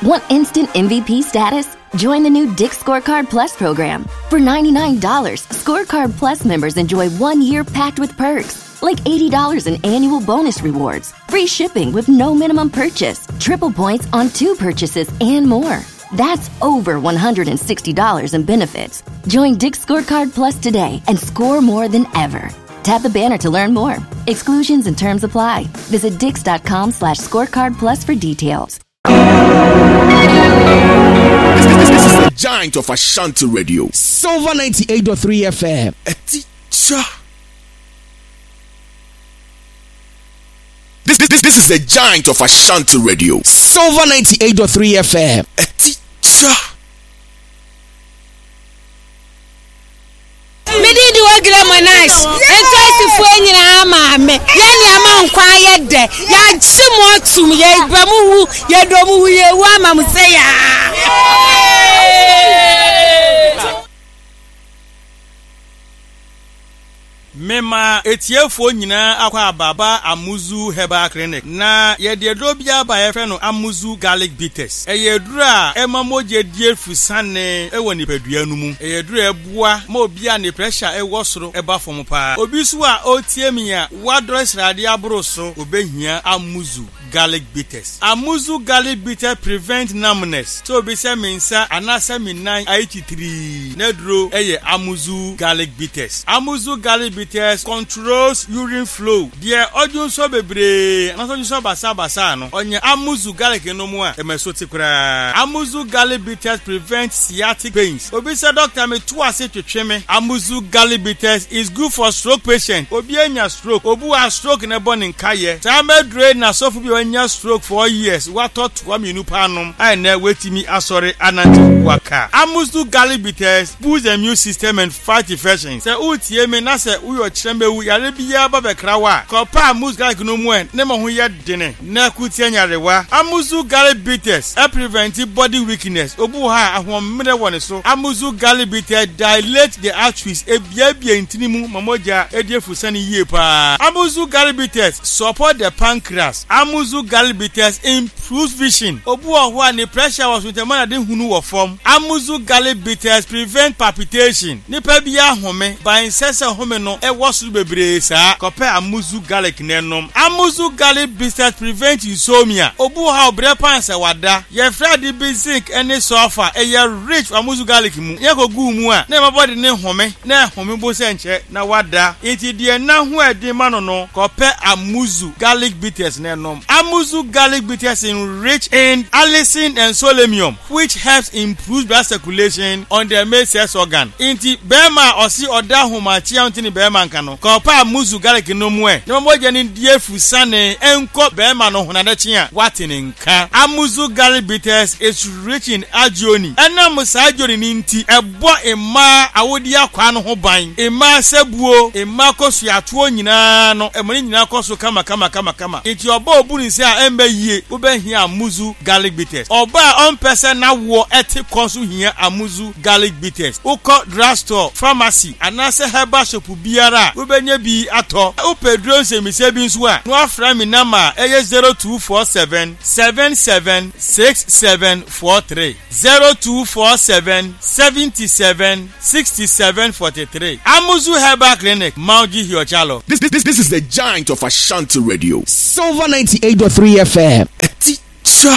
Want instant MVP status? Join the new Dick's Scorecard Plus program. For $99, Scorecard Plus members enjoy one year packed with perks, like $80 in annual bonus rewards, free shipping with no minimum purchase, triple points on two purchases, and more. That's over $160 in benefits. Join Dick's Scorecard Plus today and score more than ever. Tap the banner to learn more. Exclusions and terms apply. Visit dix.com slash scorecard plus for details. This, this, this is the giant of Ashanti Radio. Silver 98.3 FM. A teacher. This, this, this is the giant of Ashanti Radio. Silver 98.3 FM. A teacher. Me din de Ogile Monash. Nkaisifoɔ nyinaa maame. Yɛn nneɛma nkwa ayɛ dɛ. Yɛagye mo atum. Yɛba mo wu. Yɛdɔ mo wu. Yɛwu ama mo sɛ yaa. Mema etiefoɔ nyinaa akwaaba ba Amuzu Herbal Clinic. Na yɛde aduro bi aba a yɛfrɛ no Amuzu Garlic Bitters. Ɛyɛ aduro a ɛma mogya di afusane wɔ nipadua no mu. Ɛyɛ aduro a ɛboa ma obi a ne pressure wɔ soro ba fam paa. Obi nso a ɔretie me a wadɔre sradeɛ aboro so, ɔbɛhia Amuzu Garlic Bitters. Amuzu Garlic Bitters prevent numbness. Sɛ obi sɛ me nsa anaasɛ me nan ayɛ titrii, n'aduro yɛ Amuzu Garlic Bitters. Amuzu Garlic Bitters controls urine flow. Deɛ ɔdwonsɔ bebree anaasɛ ɔdwonsɔ basabasa no, ɔnya Amuzu Garlic nom a, ɛma ɛso te koraa. Amuzu Garlic Bitters prevent sciatic pains. Obi sɛ dɔkta me to ase twetwe me. Amuzu Garlic Bitters is good for stroke patient. Obi anya stroke, obi wɔ a stroke na ɛbɔ ne nkayɛ. Saa mɛduro yi na sɔfo bi a wanya stroke 4 years watɔ toa mmienu paa nom a ɛnɛ watumi asɔre anante waka. Amuzu Garlic Bitters boosts the immune system and fight infections. Sɛ woretie me na sɛ woyɛ ɔkyerɛmɛwu yare biara ba bɛkra wo a, kɔpɛ Amuzu Garlic no mu ɛ ne ma ho yɛ dene na ko tia nyarewa. Amuzu Garlic Bitters prevent body weakness. Obi wɔ hɔ a ahoɔmmerɛ wɔ ne so. Amuzu Garlic Bitters dilate the arteries, ebiebie ntini mu ma mogya di afusane yie paa. Amuzu Garlic Bitters support the pancreas. Amuzu Garlic Bitters improves vision. Obi wɔ hɔ a ne pressure wɔ so nti ɛma n'ade hunu wɔ fam. Amuzu Garlic Bitters prevent palpitation. Nipa bi ahome, but ɛnsɛ sɛ home no ɛwɔ soro bebree saa. Kɔpɛ Amuzu Garlic na ɛnom. Amuzu Garlic Bitters prevent insomnia. Obi wɔ hɔ a ɔbrɛ paa sɛ wada. Yɛfrɛ ade bi zinc ne sulfur. Ɛyɛ rich wɔ Amuzu Garlic mu. Yɛkɔgu mu a, na ɛma body ne home, na ɛhome bo sɛ nkyɛ na wada. Nti deɛ na ho ɛden ma no no, kɔpɛ Amuzu Garlic Bitters na ɛnom. Amuzu Garlic Bitters enrich in allicin and selenium, which helps improve blood circulation on the male sex organ. Nti bɛrima a ɔse ɔda ahomakye a ɔnte ne bɛrima nka no, kɔpɛ Amuzu Garlic no mu ɛ, na mogya no di afusane nkɔ bɛrima no ho na adakye a wate ne nka. Amuzu Garlic Bitters is rich in arginine. Ɛnam saa arginine no nti, ɛbɔ mmaa awodeɛ akwaa no ho ban. Mmaa sɛbuo, mmaa kɔsuatoɔ nyinaa no, ɛma ne nyinaa kɔ so kama kama kama kama. Nti ɔbaa obu ne nsa a ɛmba yie, wobɛhia Amuzu Garlic Bitters. Ɔbaa a ɔmpɛ sɛ n'awoɔ ɛte kɔ nso hia Amuzu Garlic Bitters. Wokɔ drugstore, pharmacy anaasɛ herbal shop biara a, wobɛnya bi atɔ. Wopɛ duro nsɛmmisa bi nso a, na woafrɛ me number a ɛyɛ 0247 77 6743. 0247 77 67 43. Amuzu Herbal Clinic, Mauji Hiochalo. This, this, this is the giant of Ashanti Radio. Silver 98.3 FM. A teacher.